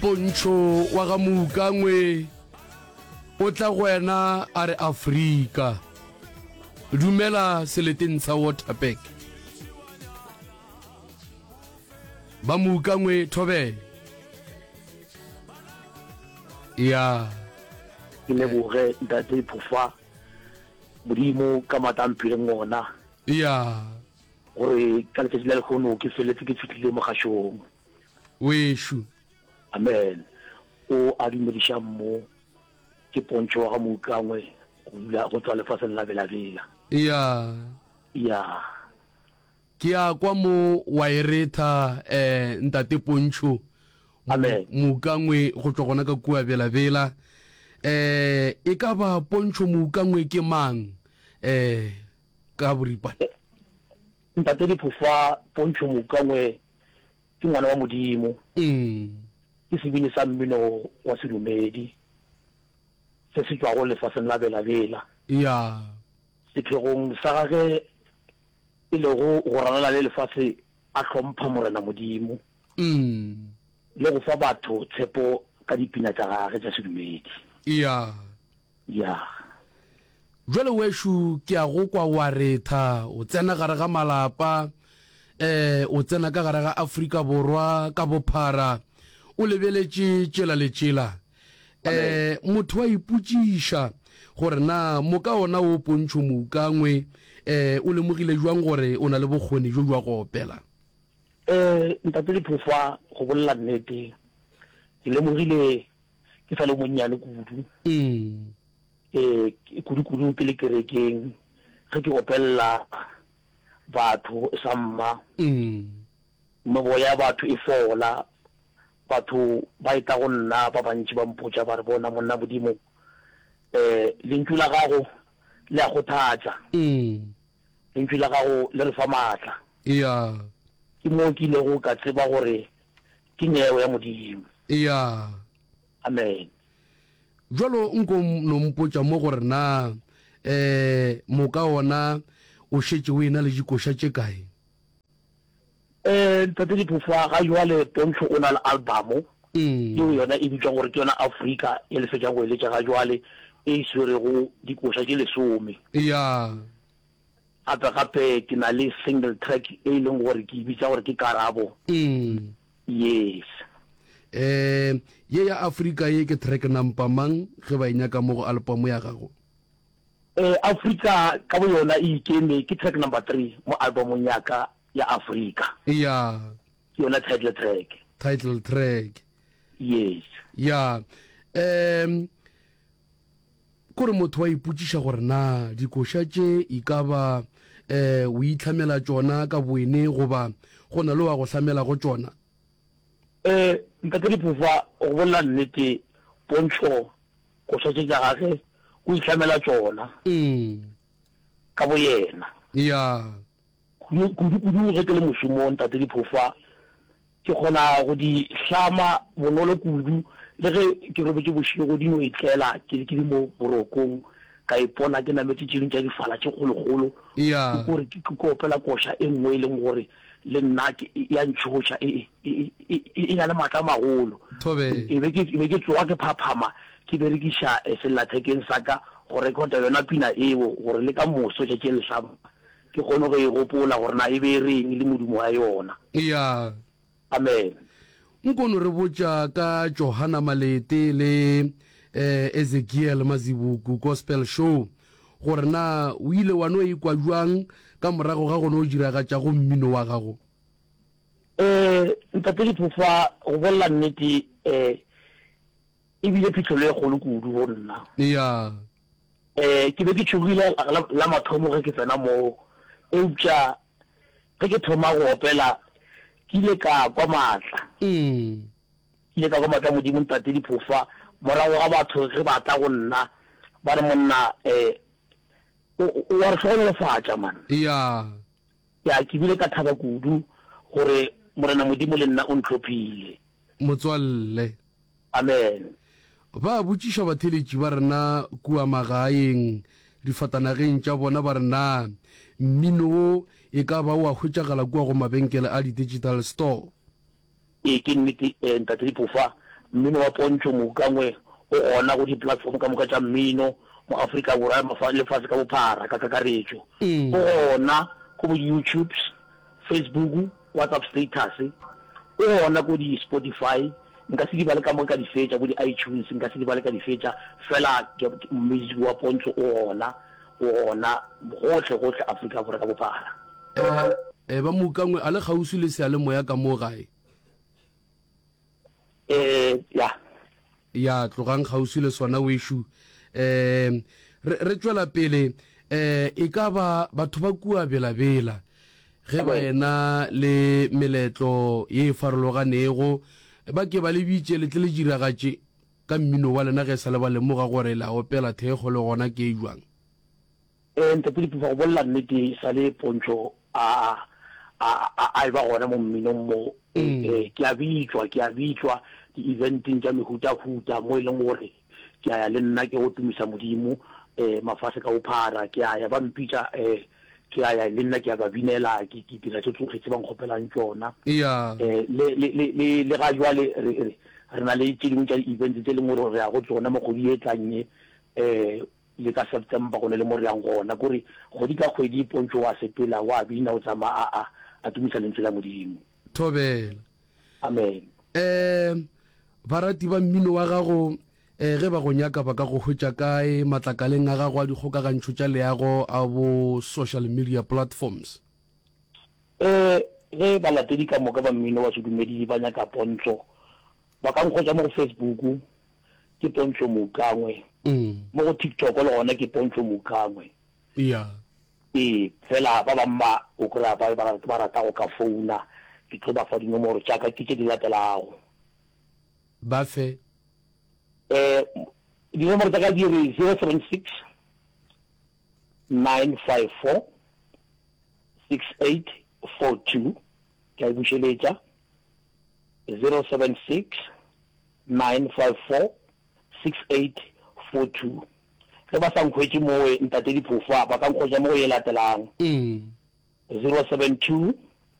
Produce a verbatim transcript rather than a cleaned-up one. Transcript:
Pontšho wa ga Moukangwe o tla go wena a re Afrika. Dumela seleteng sa Waterberg. Ba Moukangwe thobela. Ya. Ke leboge Ntate Phofa Modimo ka maatla a mphileng ona. Ya. Gore ka letšatši la lehono ke feletse ke fihlile mogašong. Wešo. Amen. O a dumediša mo ke Pontšho wa ga Moukangwe go dula go tšwa lefaseng la Bela-Bela. Ya. Ya. Ke a kwa mo wa e retha eh Ntate Pontšho. Amen. Moukangwe go tšwa gona ka kua Bela-Bela. Eh e ka ba Pontšho Moukangwe ke mang eh ka boripana? Ntate Diphofa, Pontšho Moukangwe Ke ngwana wa Modimo. Ke sebini sa mmino wa sedumedi se se tšwago lefaseng la Bela-Bela. Ya. Sephegong sa gage e lego go ralala le lefase a hlompha Morena Modimo le go fa batho tshepo ka dipina tša gage tša sedumedi. Ya. Ya. Bjale wešo ke a go kwa wa retha, o tsena gare ga malapa, eh, o tsena ka gare ga Afrika Borwa ka bophara, o lebeletše tšela le tšela. Eh, motho wa ipotšiša gore na moka ona wo Pontšho Moukangwe, eh, o lemogile bjang gore o na le bokgoni bjo bja go opela? Eh, Ntate Diphofa, go bolela nnete, ke lemogile ke sa le monnyane kudu. Mm. Ee, kudu-kudu ke le kerekeng ge ke opelela batho sa mma. Meboya ya batho e fola, batho ba etla go nna ba bantši ba mpotša ba re, Bona monna Modimo, um lentšu la gago le a kgothatša, lentšu la gago le re fa maatla. Eya. Ke moo ke ilego ka tseba gore ke neo ya Modimo. Eya. Amen. Bjalo nko no mpotša mo gore na eh moka wona o šetše o ena le dikoša tše kae? Eh Ntate Diphofa, ga jwale Pontšho o na le album yeo yona e bitšwang gore ke yona Afrika ye le fetšang go e letša ga jwale e swerego dikoša tše lesome. Ya. Gape gape ke na le single track e e leng gore ke e bitša gore ke Karabo. Yes. Eh, ye ya Afrika ye ke track number mang ge ba e nyaka mo go album ya gago? Eh, Afrika ka bo yona e ikeme, ke track number three mo albumong ya ka ya Afrika. Ya. Ke yona title track. Title track. Yes. Ya. Um, kore motho wa ipotšiša gore na dikoša tše e ka ba um o itlhamela tšona ka boene goba go na le wa go hlamelago tšona? Ee, Ntate Diphofa, go bolela nnete, Pontšho koša tše tša gage o ihlamela tšona ka boyena. Ya. Kudu-kudu ge ke le mošomong, Ntate Diphofa, ke kgona go di hlama bonolo kudu. Le ge ke robetše bošego, di no itlela ke ke le mo borokong, ka ipona ke nametše tše dingwe tša difala tše kgolokgolo, Ya. ke kore ke ke opela koša e nngwe e leng gore le nna ke e a ntšhoša, e e e e e na le maatla a magolo. Thobela. E be ke e be ke tsoga ke phaphama ke berekiša sellathekeng sa ka go rekhota yona pina eo gore le ka moso tšatši le lehlaba ke kgone go e gopola gore na e be e reng le modumo wa yona. Ya. Amen. Nko no re botša ka Johanna Malete le Ezekiel Mazibuku Gospel Show gore na o ile wa no ikwa bjang ka morago ga go no diragatša go mmino wa gago? Eh, Ntate Diphofa, go bolela nnete, eh, e bile phihlelo e kgolo kudu go nna. Ya. Eh, ke be ke tšhogile la, la mathomo ge ke tsena moo, eupša ge ke thoma go opela, ke ile ka kwa maatla. Mm. Ke ile ka kwa maatla a Modimo, Ntate Diphofa, morago ga batho ge ba tla go nna, ba re, Monna, eh, o, o a re hlogonolofatša, man. Ya. Ya, ke bile ka thaba kudu gore Morena Modimo le nna o ntlhophile. Motswalle. Amen. Ba botšiša batheeletši ba rena kua magaeng, difatanageng tša bona ba re na mmino wo e ka ba o a hwetšagala kua go mabenkele a di-digital store. Ee, ke nnete, Ntate Diphofa, Mmino wa Pontsho Moukangwe o gona go di-platform ka moka tša mmino mo Afrika Borwa lefase ka bophara ka kakaretšo. O gona ko bo YouTubes, Facebook, WhatsApp status, o gona ko di-Spotify, nka se di bale ka moka ka di fetša, bo di-iTunes nka se di bale ka di fetša, fela music wa Pontsho o gona, o gona gohle gohle Afrika Borwa ka bophara. Eh, ba Moukangwe a le kgauswi le seyalemoya ka mo gae? Eh, ya. Ya, tlogang kgauswi le sona wešo. Eh, re, re tšwela pele, eh, e ka ba batho ba kua Bela-Bela ge ba ena le meletlo ye e farologanego, ba ke ba le bitše le tle le diragatše ka mmino wa lena ge e sa le ba lemoga gore le a opela thekgo le gona ke e jwang? Eh, Ntate Lepufa, go bolela nnete, e sa le Pontsho a, a, a, a eba gona mo mminong mo, eh, ke a bitšwa, ke a bitšwa di-eventeng tša mehutahuta mo e leng gore ke a ya le nna ke go tumisa Modimo, eh, mafase ka bophara, ke a ya ba mpitša, eh, ke a ya le nna ke a ba binela, ke, ke dira tše tsohle tše ba nkgopelang tšona. Ya. Eh, le, le, le, le, le ga jwale re, re, re na le tše dingwe tša di-events tše leng gore re ya go tsona mo kgwedi e tlang ye, eh, le ka September go ne le mo re yang gona, kore kgwedi ka kgwedi Pontsho wa sepela, wa bina, o tsamaya a, a, a tumisa lentswe la Modimo. Thobela. Amen. Eh, barati ba mmino wa gago, eh, ge ba go nyaka ba ka go hwetša kae matlakaleng a gago a dikgokagantšho tša leago a bo social media platforms? Eh, ge balatedi ka moka ba mmino wa sedumedi ba nyaka Pontsho, ba ka nkgwetša mo go Facebook, ke Pontsho Moukangwe. Mo go TikTok le gona ke Pontsho Moukangwe. Ya. Ee, fela ba bang ba o kry-a ba, ba, ba rata go ka founa, ke tlo ba fa dinomoro tša ka, ke tše di latelago. Ba fe. Eh, dinomoro tša ka di re zero seven six nine five four six eight four two, ke a e bušeletša, zero seven six nine five four six eight four two. Ge ba sa nkhwetše mowe, Ntate Diphofa, ba ka nkhwetša mo go ye latelang, zero seven two